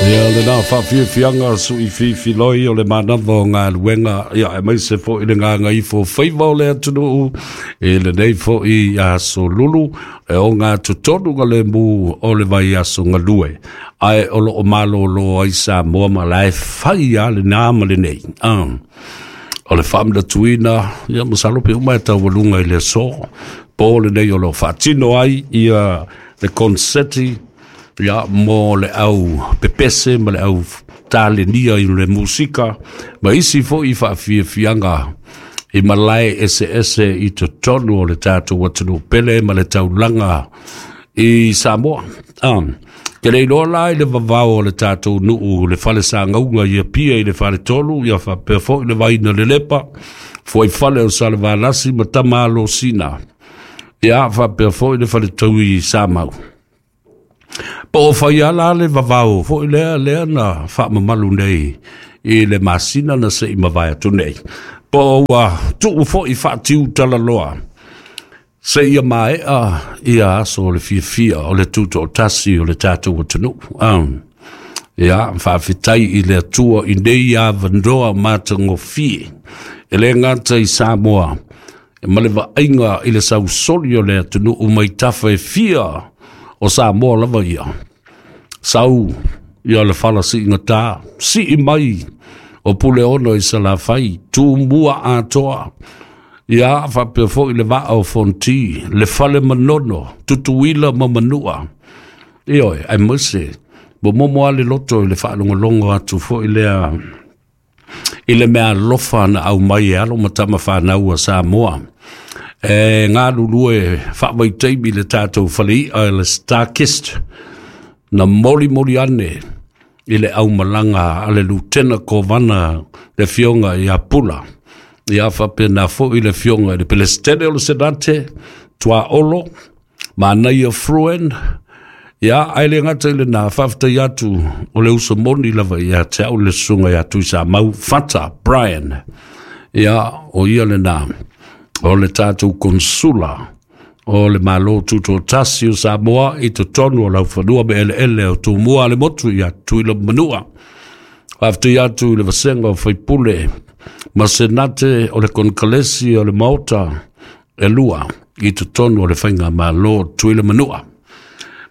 Ia lena faafiafiaga suʻifiifiloi o le manava o galuega, ia aemaise foʻi le gagaifo faiva o le atunuu i lenei foʻi aso Lulu e ogatotonu galemu o le vaiaso galue, ae o loo malōlō ai Samoa ma lae fai a lena ma lenei. O le faamanatuina, ia masalo pe uma e taualuga i le aso po lenei o loo faatino ai ia le konseti, ia mo le au pepese ma le au talenia i le musika ma isi foʻi faafiafiaga i malae eseese i totonu o le tatou atunuu pele ma le taulaga i Samoa. Ke le iloa la i le vavao o le tatou nuu le fale sagauga i Apia i le faletolu, ia faapea foʻi le vaina lelepa fuaifale o Salevalasi ma Tamalosina, ia faapea foʻi le faletaui i Samau. Po o fai ala le vavao foʻi lea lea na faamamalu nei i le masina na seʻi mavae atu nei, po ua tuu foʻi faatiu talaloa seia maeʻa ia aso o le fiafia o le tutoʻatasi o le tatou atunuu. Ia faafetai i le Atua i nei avanoa matagofie e lē gata i Samoa ma le vaaiga i le sausoli o le atunuu mai tafa e fia o Samoa lava ia. Sau ia le fala siigatā, sii mai o Puleono i Salafai, Tumua atoa, ia faapea foʻi le vaa o Fonti, le fale Manono, Tutuila ma Manua. Ioe, aemaise momomo a le loto i le faalogologo atu foʻi lea i le mea alofa na aumai e alo ma tama fanau a Samoa e galulue faavaitaimi le tatou faleiʻa le Starkist na molimoli ane i le aumalaga a le Lutena Kovana le Afioga ia Pula, ia faapena foʻi le Afioga i le Pelesitene o le Senate Tuaolo Manaia Fruen. Ia ae le gata i lena, faafetai atu o le uso moni lava ia te au le susuga ia Tuisamau Fata Brian. Ia o ia lena o le tatou konsula o le Malo Tutoatasi o Samoa i totonu o laufanua ma eleele o Tumua le motu ia Tutuila ma Manua. Faafetai atu i le vasega o faipule ma senate o le konekalesi o le Maota e lua i totonu o le faiga malo Tutuila Manua.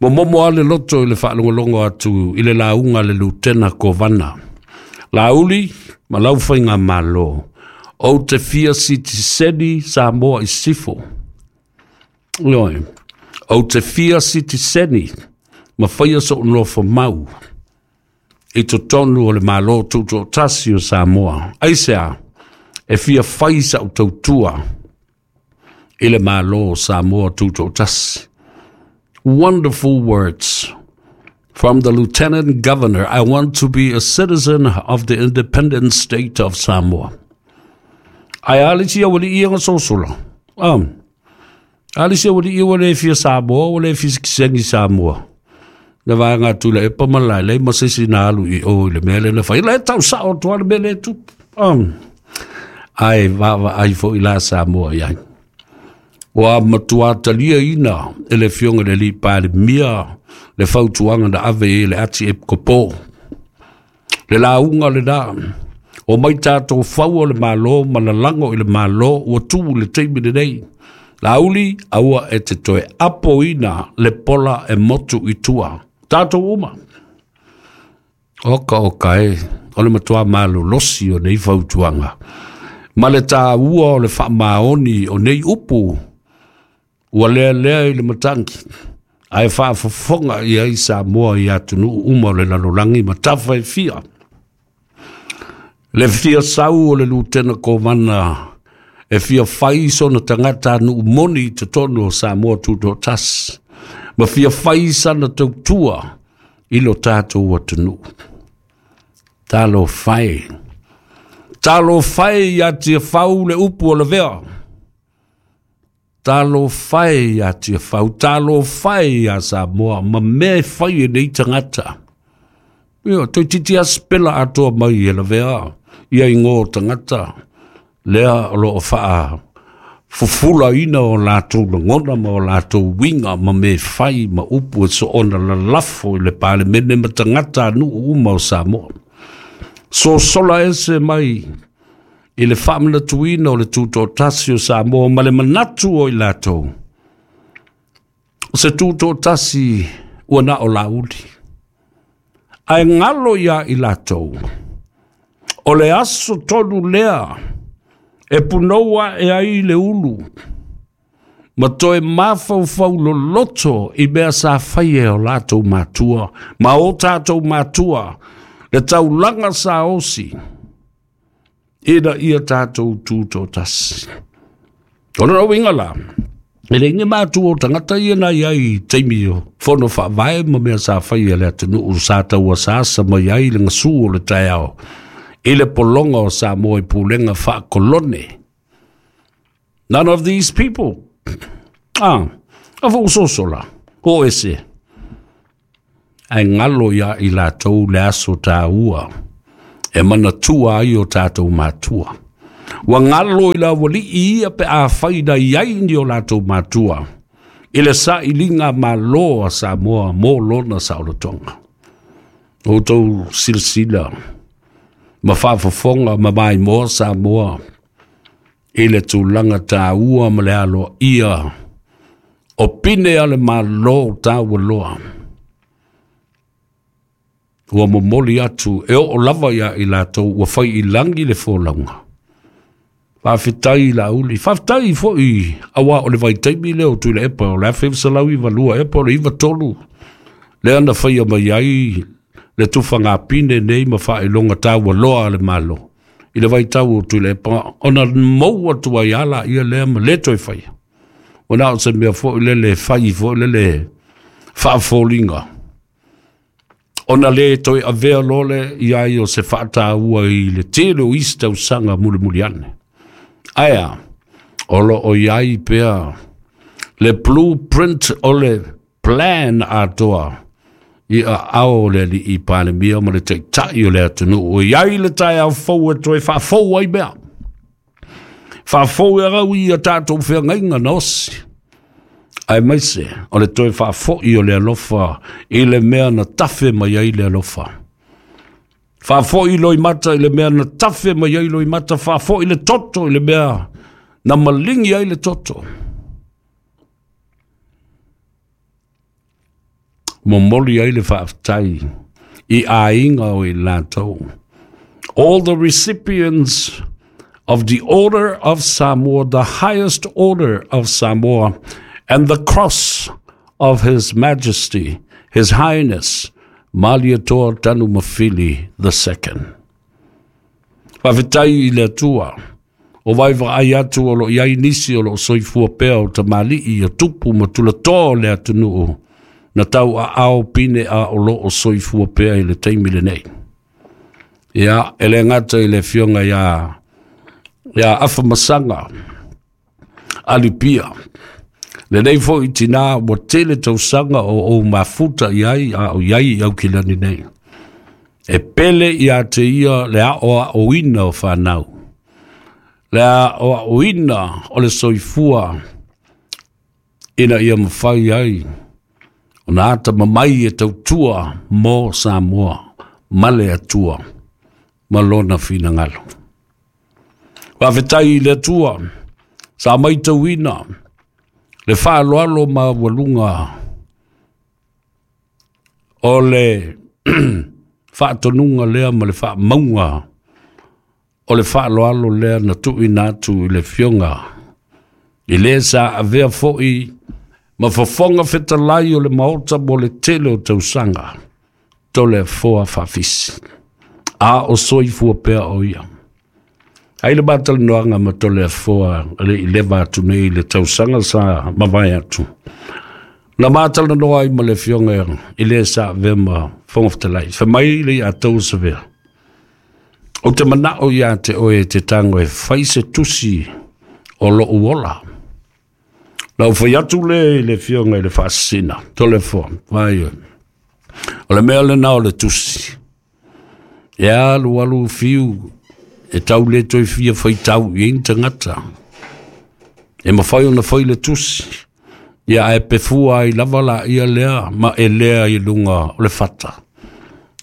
Momomo a le loto i le faalogologo atu i le lauga a le Lutena Kovana. Laauli ma lau faiga malo, ou te fia sitiseni Samoa i sifo. Ioe, ou te fia sitiseni ma faia soʻu nofo mau i totonu o le Malo Tutoatasi o Samoa. Aisea? E fia fai saʻu tautua i le Malo o Samoa Tutoatasi. Wonderful words from the Lieutenant Governor. I want to be a citizen of the independent state of Samoa. Ae a le isi aualii ia na sosola. A le isi aualii ua le fia Samoa, ua le fia sitiseni Samoa. Le vaega atu le epa ma lae ma se isi na alu i o i le mea le na fai. Le tau sao atu le mea le tupu. Ae vaavaai foʻi la Samoa i ai. Ua matua talia ina e le Afioga i le Alii Palemia le fautuaga na ave i le ati epikopo. Le lauga lena, o mai tatou fau o le Malo ma lalago i le Malo ua tu le taimi lenei. Laauli, aua e te toe apoina le pola e motu i tua. Tatou uma. Oka oka e, o le matua malolosi o nei fautuaga. Ma le tāua o le faamaoni o nei upu, ua lea lea i le matagi, ae faafofoga i ai Samoa i atunuu uma o le lalolagi ma tafa e fia. Le fia sau o le Lutena Kovana e fia fai sona tagata nuu moni i totonu o Samoa Tutoatasi, ma fia fai sana tautua i lo tatou atunuu. Talofa e. Talofa e ia Tiafau le upu o le vea. Talofa e ia Tiafau, talofa e ia Samoa, ma mea e fai e nei tagata. Ia, toeitiiti asipela atoa mai e lavea ia igoa o tagata lea o loo faa Fufulaina o latou lagona ma o latou uiga ma mea fai ma upu e soona lalafo i le Palemene ma tagatanuu uma o Samoa. Sosola ese mai i le faamanatuina o le tutoatasi o Samoa ma le manatu o i latou, o se tutoatasi ua na o lauli. Ae galo ia i latou, o le aso tonu lea e punou ae ai le ulu, ma toe mafaufau loloto i mea sa fai e o latou matua, ma o tatou matua, le taulaga sa osi, ina ia tatou tutoatasi. O lona uiga la, e leai ni matua o tagata ia na i ai i taimi o fono faavae ma mea sa fai e le atunuu sa tauasaasa mai ai le gasu o le taeao i le pologa o Samoa i pulega faakolone. None of these people. A fausoso la, o ese. Ae galo ia i latou le aso taua e manatua ai o tatou matua. Ua galo i le aualii ia pe afai na i ai ni o latou matua i le sailiga malo a Samoa mo lona saolotoga. Outou silasila ma faafofoga ma maimoa Samoa i le tulaga taua ma le aloaia o pine a le Malo taualoa. Ua momoli atu e oo lava ia i latou ua fai i lagi le folauga. Faafetai Laauli, faafetai foi auā o le vaitaimi lea o Tuilaepa o le 1992 epa o le 93 lea na faia mai ai le tufagapine nei ma faailoga taualoa a le Malo i le vaitau o Tuilaepa ona mou atu ai ala ia lea ma le toe faia. Ua na o se mea foi lele fai foi lele faafoliga ona le toe avea loa le ia ai o se faataua i le tele o isi tausaga mulimuli ane. Ae a, o lo o i ai pea le blueprint o le plan atoa i aao o le alii Palemia ma le taitai o le atunuu. O i ai le taeao fou e toe faafou ai mea. Faafou e au i a tatou feagaiga na osi. Aemaise o le toe faafoi o le alofa i le mea na tafe mai ai le alofa. Faafoi loimata i le mea na tafe mai ai loimata, faafoi le toto i le mea na maligi ai le toto. Momoli ai le faafetai i aiga o i latou. All the recipients of the Order of Samoa, the highest order of Samoa, and the cross of His Majesty, His Highness, Malietoa Tanumafili II. Faafetai i le Atua, o vaaivaai atu o lo o i ai nisi o lo o soifua pea o tamalii o tupu ma tulatoa o le atunuu na tauaao pine a o lo o soifua pea i le taimi lenei. Ia, e le gata i le afioga ia Afamasaga Alipia, lenei foi tinā ua tele tausaga o ou mafuta i ai a o i ai i Aukilani nei. E pele ia te ia le aoaoina o whanau. Le aoaoina o le soifua ina ia mafai ai ona atamamai e tautua mo Samoa ma le Atua ma lona finagalo. Faafetai i le Atua sa maitauina le faaaloalo maualuga o le faatonuga lea ma le faamauga o le faaaloalo lea na tuuina atu i le afioga i le sa avea foi ma fofoga fetalai o le Maota mo le tele o tausaga, Toleafoa Faafisi. A o soifua pea o ia. Ai le matalanoaga ma Toleafoa le i leva atu nei le tausaga sa mavae atu. Na matalanoa ai ma le afioga i le sa avea ma fofoga fetalai. Fai mai le ia tou savea. O te manao ia te oe te tango e fai se tusi o lou ola. Na ou fai atu le i le afioga i le Faasisina, Toleafoa, vai oe. O le mea lena o le tusi. E alu alu fiu e tau le toe fia faitau i ai ni tagata. E mafai ona fai le tusi, ia ae pefua ai lava laia lea ma elea i luga o le fata.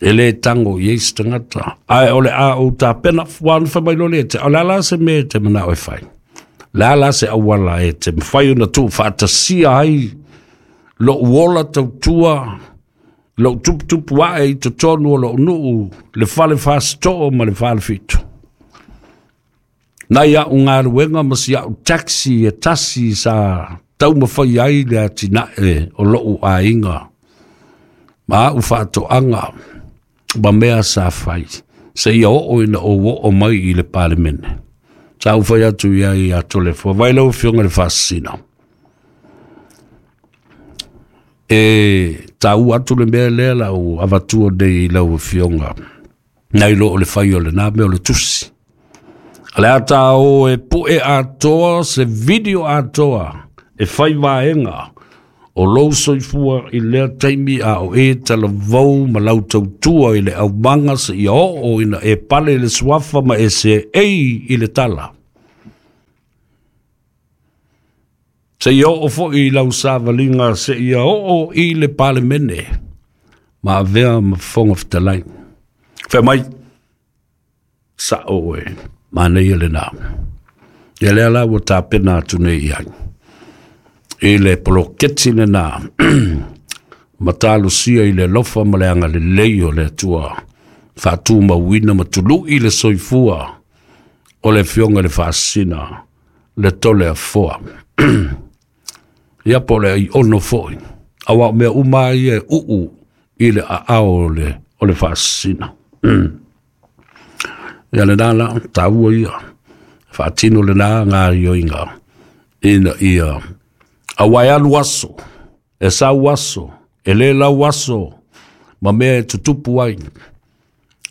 E lē tago i ai se tagata. Ae o le a ou tapena, ua ona fai mai loa lea ia te au, o le a la se mea e te manao e fai? Le a la se auala e te mafai ona tuufaatasia ai lou ola tautua, lou tuputupu ae i totonu o lou nuu, le fale Fasitoo ma le Falefitu? Nai au galuega ma si au taxi e tasi sa taumafai ai le atinae o lou aiga ma au faatoaga ma mea sa fai seia oo ina ou oo mai i le Palemene. Sa ou fai atu i ai ia Toleafoa, vai lau Afioga i le Faasisina, e taua atu le mea lea la ou avatua nei i lau Afioga, nai lo o le fai o lena mea o le tusi. O le a ta o e pue atoa se video atoa e fai vaega o lou soifua i lea taimi a o e talavou ma lau tautua i le aumaga seia oo ina e pale i le suafa ma e seei i le tala. Seia oo foi i lau savaliga seia oo i le Palemene ma avea ma Fofoga Fetalai. Fai mai, sao e, manaia lena. Ia lea la ua tapena atu nei i ai i le poloketi lena ma talosia i le alofa ma le agalelei o le Atua faatumauina ma tului le soifua o le Afioga i le Faasisina le Toleafoa. Ia po o le aiono foi, aua o mea uma lava ia e uu i le aao o le Faasisina. Ia lena la, taua ia, faatino lena gaoioiga ina ia, aua e alu aso, e sau aso, e le lau aso, ma mea e tutupu ai.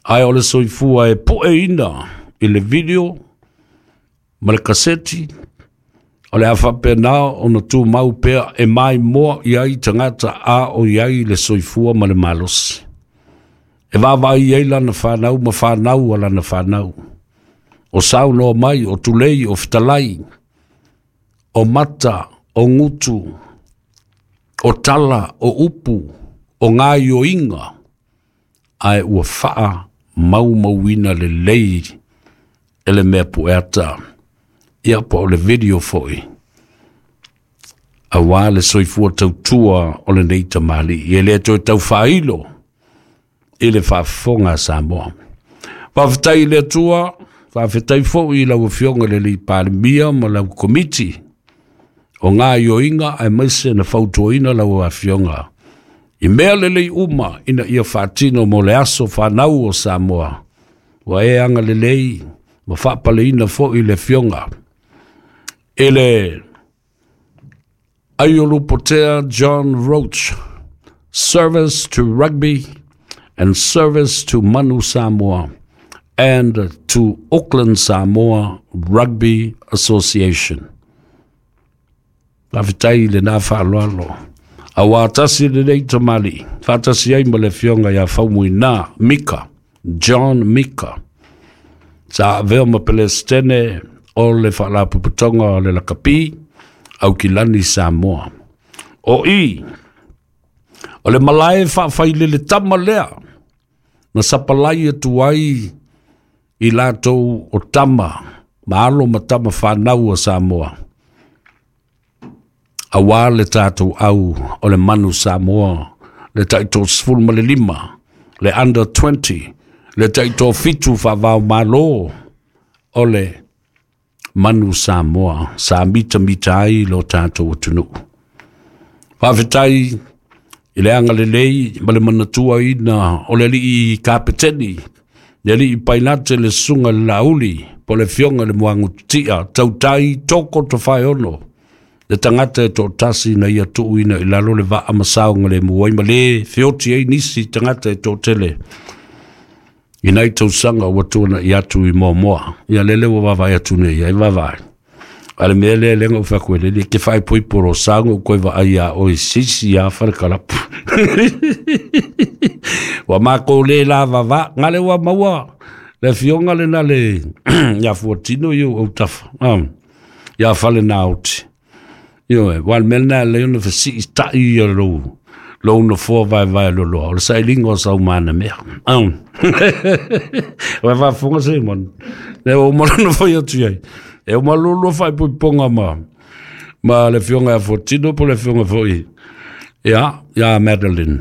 Ae o le soifua e pueina i le video ma le kaseti, o le a faapena ona tumau pea e maimoa i ai tagata a o i ai le soifua ma le malosi. E vaavaai ai lana fanau ma fanau a lana fanau. O saunoa mai, o tulei, o fetalai, o mata, o gutu, o tala, o upu, o gaioiga, ae ua faamaumauina lelei e le mea pueata, ia po o le video foi, aua le soifua tautua o lenei tamalii. E le toe tau faailo i le faafofoga a Samoa. Faafetai i le Atua, faafetai foi i lau Afioga i le alii Palemia ma lau Komiti o gaoioiga, aemaise na fautuaina lau Afioga i mea lelei uma ina ia faatino mo le aso fanau o Samoa. Ua e agalelei ma faapaleina foi le Afioga i le Aiolupotea John Roach, service to rugby and service to Manu Samoa and to Auckland Samoa Rugby Association. Faafetai i lena faaaloalo. Aua tasi lenei tamalii, faatasi ai ma le Afioga ia Faumuina Mika, John Mika, sa avea ma Pelesitene o le Faalapotopotoga o le Lakapi, Aukilani Samoa. O i, o le malae faafailele tama lea, na sapalai atu ai i latou o tama, ma alo ma tama fanau a Samoa, aua le tatou au o le Manu Samoa, le tai 35, le under 20, le tai 7 faavao malo o le Manu Samoa, sa mitamita ai lo tatou atunuu. Faafetai i le agalelei ma le manatuaina o le alii kapeteni, le alii pailate le susuga i le Laauli, po o le Afioga i le Muagututia, Tautai Toko Tofaeono, le tagata e toatasi na ia tuuina i lalo le vaa ma saogalemu ai ma le feoti ai nisi tagata e toatele i nai tausaga ua tuanai atu i muamua. Ia lele ua vaavaai atu nei ai vaavaai. A le mea lea lenga u whaku e lele, ke whai poi poro saunga u koe vaai a oi sisi a whare kalapu. Ua mākou le la vava, ngale ua maua, le fionga le na le ia fuatino i au tafa. ia Falenaoti. Ioe, ua o le mea lena e alai ona fesiitai ia lou nofoa vaevae loaloa, o le sailiga o saumana mea. Ua faafofoga Simon, lea ua uma lona fai atu i ai. E uma lua faaipoipoga ma le afioga ia Fuatino po o le afioga foi ia Madeline.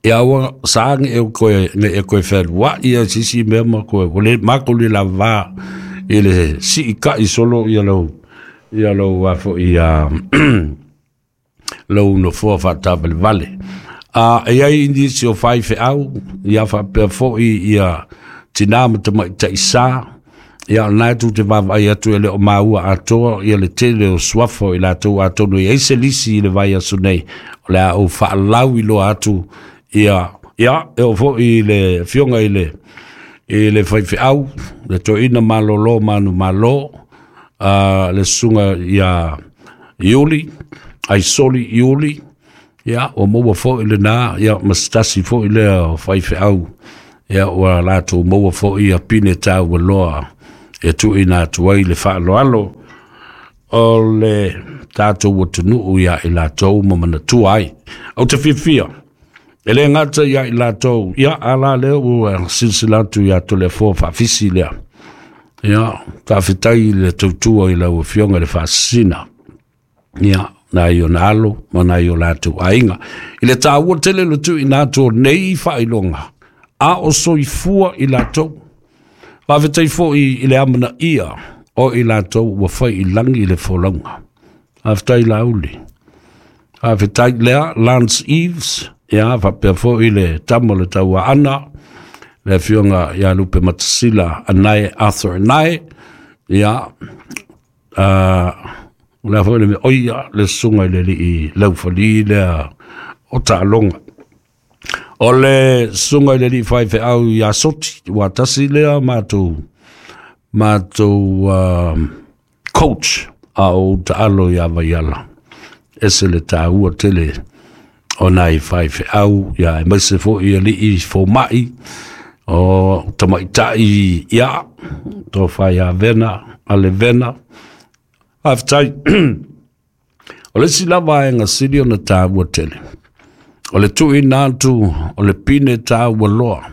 Ia ua sa ne e koe ne e koe fealuai ia sisi mea ma koe ua le matou le lava i le siitai solo ia lou a foi ia lou nofoa faatavalevale. A e ai nisi o faifeau ia faapea foi ia tinā ma tamaitai sa ia o lena e tou te vaavaai atu e le o maua atoa ia le tele o suafa o i latou, atonu e i ai se lisi i le vaiaso nei o le a ou faalauiloa atu ia e oo foi i le afioga i le faifeau le toeaina malolo manumalo, le susuga ia Iuli Aisoli Iuli. Ia ua maua foi lena ia ma se tasi foi lea o faifeau ia ua latou maua foi ia pine taua loa e tuuina atu ai le faaaloalo o le tatou atunuu ia i latou ma manatua ai. Ou te fiafia e le gata ia i latou ia ala lea ua silasila atu ia Toleafoa Faafisi lea. Ia, faafetai i le tautua i lau afioga i le Faasisina. Ia, nai ona alo ma nai o latou aiga. I le taua tele le tuuina atu o nei faailoga, a o soifua i latou. Faafetai foi i le amanaia o i latou ua fai i lagi le folauga. Faafetai Laauli. Faafetai lea Lance Eves, ia faapea foi le tama o le Tauaana, le afioga ia Lupe Matasila Anae Arthur Anae, ia lea foi le mea, oia, le susuga i le alii Laufali lea o Taaloga. O le susuga i le alii faifeau ia Soti, ua tasi lea matou coach a o taalo ia Vaiala. Ese le taua tele o nai faifeau, ia aemaise foi alii fomai, o tamaitai ia, tofa ia Vena, ale Vena. Faafetai. O le isi lava vaega sili ona taua tele, o le tuuina atu o le pine taua loa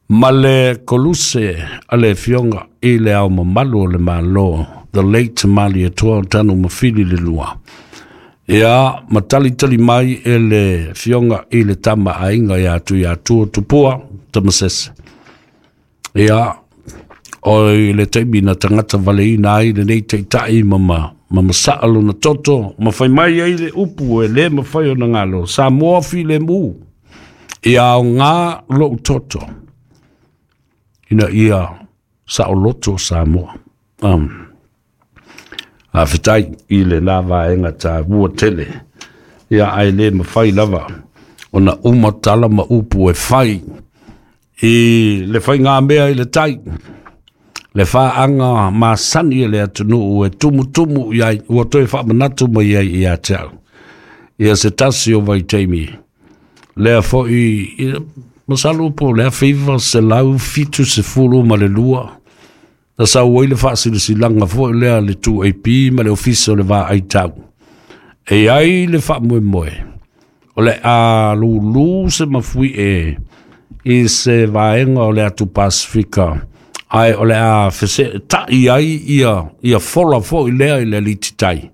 ma le koluse a le afioga i le Ao Mamalu o le Malo, the late Malietoa Tanumafili le Lua. Ia, ma talitali mai e le afioga i le Tama Aiga ia Tuiatua Tupua Tamasese. Ia, o i le taimi na tagata valeina ai lenei taitai ma masaa lona toto, ma fai mai ai le upu e le mafai ona galo, Samoa filemu, ia aoga lou toto, ina ia saoloto Samoa. Faafetai i lena vaega taua tele. Ia, ae le mafai lava ona uma tala ma upu e fai i le faigamea i le tai, le faaga masani e le atunuu e tumutumu i ai, ua toe faamanatu mai ai ia te au. Ia se tasi o vaitaimi, lea foi, masalo po o le 1972, na sau ai le faasilasilaga foi lea le 2AP ma le Ofisa o le Vaai Tau. E i ai le faamoemoe, o le a lulu se mafuie i se vaega o le atu Pasifika, ae o le a feseetai ai ia fola foi lea i le alititai.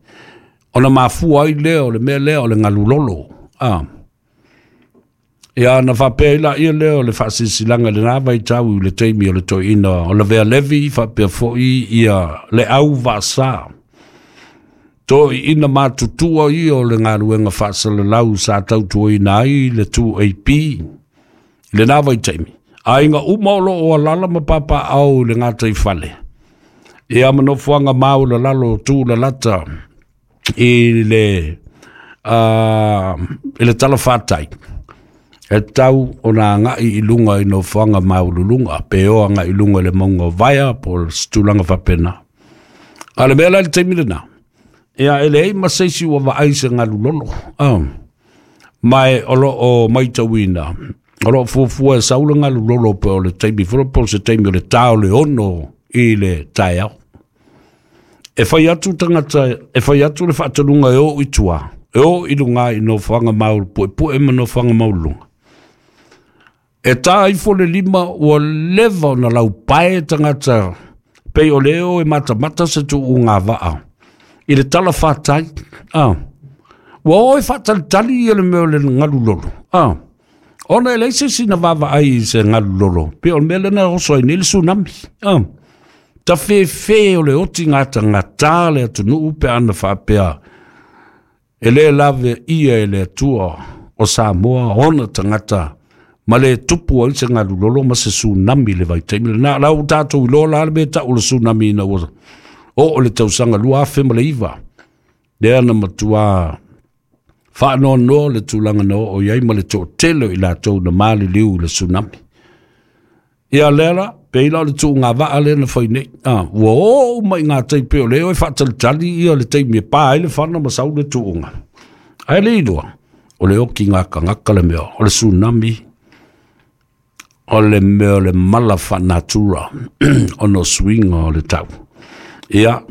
Ona mafua ai lea o le mea lea o le galulolo. Ah. Ia na faapea ai laia lea o le faasilasilaga i lena vaitau i le taimi o le toeaina o Lavea Levi faapea foi ia le au vaasa. Toeaina matutua ia o le galuega faasalalau sa tautuaina ai le 2AP i lena vaitaimi. Aiga uma o lo o alala ma papaau i le gataifale. Ia ma nofoaga maualalalo tulalata i le talafatai e tau ona agai i luga i nofoaga maualuluga pe o agai i luga i le mauga o Vaea po o se tulaga faapena. A o le mea la i le taimi lena, ia e leai ma se isi ua vaai se galulolo. Ma e o lo o matauina, o lo o fuafua e sau le galulolo po o le taimi foi po o se taimi o le ta o le 6 i le taeao. E fai atu tagata, e fai atu le faatonuga e oo i tua, e oo i luga i nofoaga puepue ma nofoaga maualuluga. E ta ifo le 5 ua leva ona laupae tagata, pei o le o e matamata se tuuga vaa i le talafatai. Ua o e faatalitali ia le mea o le galu lolo. Ona e leai se isi na vaavaai i se galu lolo, pei o le mea lea na oso ai nei le tsunami. Tafefe o le otigatagata le atunuu pe ana faapea e lē lave ia e le Atua o Samoa ona tagata ma le tupu ai se galu lolo ma se tsunami i le vaitaimi lena. La ua tatou iloa la le mea tau o le tsunami ina ua oo le tausaga 2009, lea na matua faanoanoa le tulaga na oo i ai ma le toatele o i latou na maliliu i le tsunami. Ia lea la, pei la o le tuuga vaa lea na fai nei. Ua oo uma i gatai pei o lea e faatalitali ia le taimi e pa ai le fana ma sau le tuuga. Ae le iloa, o le otigatagata le mea, o le tsunami, o le mea o le mala faanatura ona o suiga o le tau. Ia,